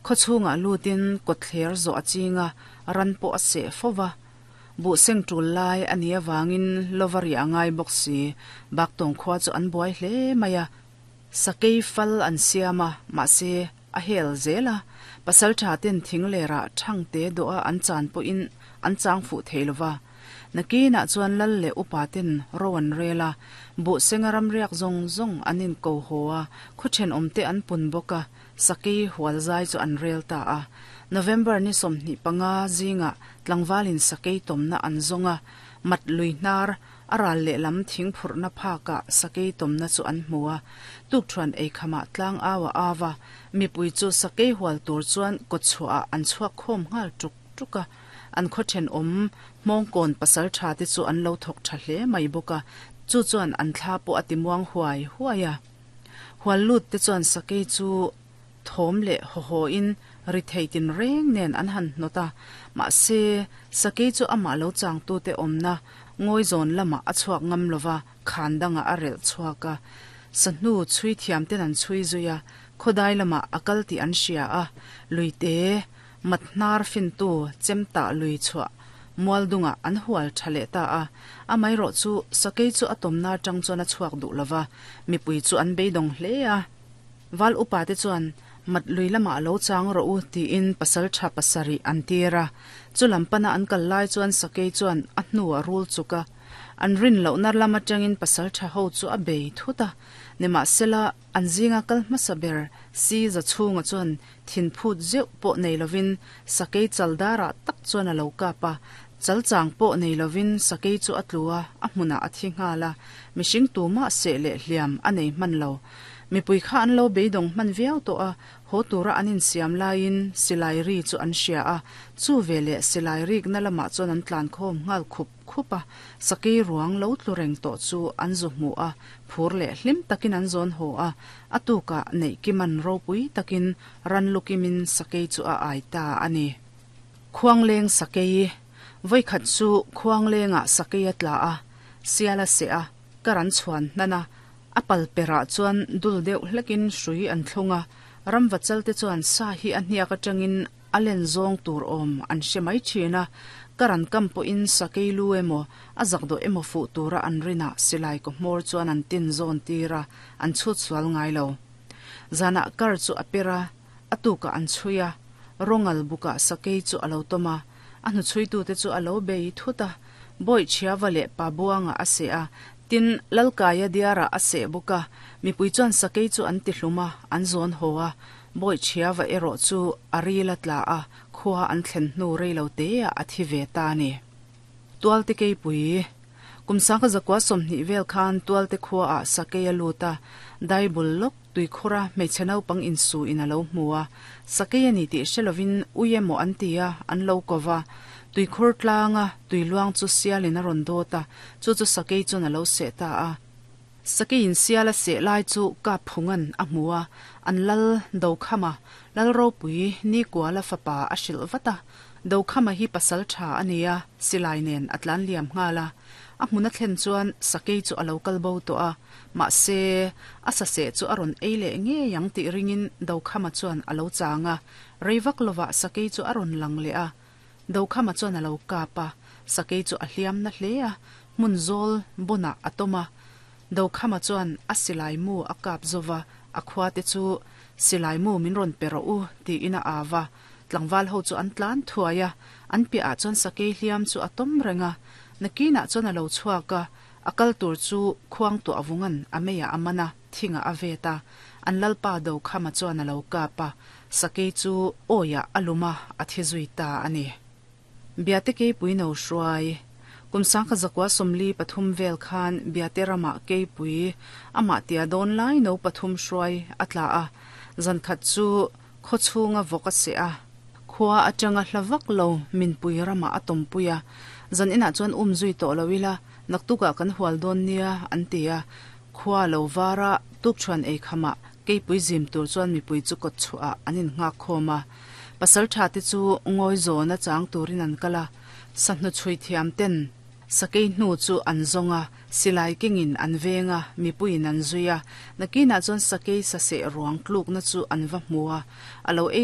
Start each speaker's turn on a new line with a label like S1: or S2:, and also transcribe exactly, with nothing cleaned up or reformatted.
S1: Khawchhunga lutin kawtthler zawh a chinga ran pawh a seh fova bu seng tul lai ani awangin lovari angai bawk si baktawng khua chu an buai hle mai a sakei fal an siama mahse a hel zela pasal tha ten thing lera thang te do a an chan pawh in an chang fu theilova nakina chuan lal le upa ten ro an rela bu senga ram riak zong zong anin ko hoa khuchen omte an pun boka sakei hual zai chu an rel ta a November ni somni panga zinga tlangwalin sakei tomna an zonga mat lui hnar aral le lam thing phurna phaka sakei tomna chu an hmuwa tuk thuan ei khama tlang awa awa mipui chu sakei hual tur chuan kochua an chuak khom ngal tuk tuka an khochen om mongkon pasal tha te chu an lo thok tha hle mai boka chu chuan an thla po atimuang huai huaya hual lut te chuan sakei chu thom le ho ho in ri theitin reng nen an han nota ma se sakei chu ama lo chang tu te omna ngoi zon lama a chuak ngam lova khandanga a rel chuaka sanu chui thiam ten an chui zuya khodai lama akal ti an sia a luite matnar fin tu chemta lui chua mualdunga an hual thale ta a amai ro chu sakei chu atomna tang chona chuak du lova mipui chu an beidong hle a wal upa te chuan mat lui lama lo chang ro u ti in pasal tha pasari an tira chu lampana an kal lai chuan sakei chuan a hnu a rul chuka an rin lo nar lama tangin pasal tha ho chu a bei thuta nema sela an zinga kal hmasaber si za chunga chuan thin phut zeuh pawh nei lovin sakei chaldara tak chuan a lo kapa chalchang pawh nei lovin sakei chu a tlua a hmuna a thi nghala mihring tuma se le hliam a nei hman lo mipui kha an lo beidong hman viau to a ho tura anin siam laiin silai ri chu an hria a chu vele silai rik na lama chuan an tlan khom ngal khup khupa sakei ruang lo tlureng to chu an zu hmu a phur le hlim takin an zon ho a atuka nei kiman ropui takin ran lukimin sakei chu a ai ta ani khuangleng sakei voi khat chu khuanglenga sakei atla a siala se a karan chuan nana apal pera chuan dul deuh hlekin hrui an thlunga ramva chalte chuan sa hi a hniak atangin alen zawng tur awm an hre mai thina karan kam pawh in sakei lu emaw a zakdo emaw fu tura an rina silai ko hmawr chuan an tin zawn tira an chhut sual ngai lo zana kar chu a pera atuka an chhuia rongal buka sakei chu alo tawma a hnu chhui tu te chu alo bei thuta boi chhiava leh pa buanga a se a tin lalkaya diara a se buka mipui chuan sakei chu an ti hluma an zawn ho a boi chhiava erawh chu a rila tla a khua an thlen hnu reilo te a a thi ve ta ni tualte keipui kumsangka zakwa sawmhnih vel khan tualte khua a sakei a luta daibul lok tui khura hmeichhe naupang insu in alo hmu a sakei ani tih hrelovin ui emaw an ti a an lo kova tui khur tlanga tui luang chu sialin a rawn dawt a chu chu sakei chuan alo seh ta a sakei in siala seh lai chu kap phungan a hmu a an lal do khama lal ropui ni kuala fapa a hrilh vata do khama hi pasal tha ania silai nen a tlan liam nghala a hmuna thlen chuan sakei chu alo kal bo to a ma se a sa se chu a rawn ei leh nge yang tih ringin do khama chuan alo changa reivak lova sakei chu a rawn lang leh a do khama chuan alo kapa sakei chu a hliam na hle a hmun zawl bona a tawma do khama chuan a silai mu a kap zova a khua te chu silai mu min rawn pe rawh u tiin a awa tlangval ho chu an tlan thuai a an piah chuan sakei hliam chu a tawm renga nakina chuan alo chhuaka akal tur chu khuang tu awungan ameya amana thinga aveta an lalpa do khama chuan alo kapa sakei chu oya aluma a thizui ta ani biate ke puino hruai kumsangka zakwa somli pathum vel khan biate rama ke pui ama tia don lai no pathum hruai atla a zankhat chu khochunga voka se a khua atanga hlavak lo min pui rama atom puya zan ina chuan um zui to lowila naktuka kan hual don nia an tia khua lo wara tuk chuan ei khama ke pui zim tur chuan mi pui chu kot chua anin nga khoma pasal tha te chu ngoi zona chang turin an kala sahnu chui thiam ten sakei hnu chu an zonga silai kingin an venga mipuin an zuia nakina chuan sakei sa se ruang tluk na chu an va hmua alo ei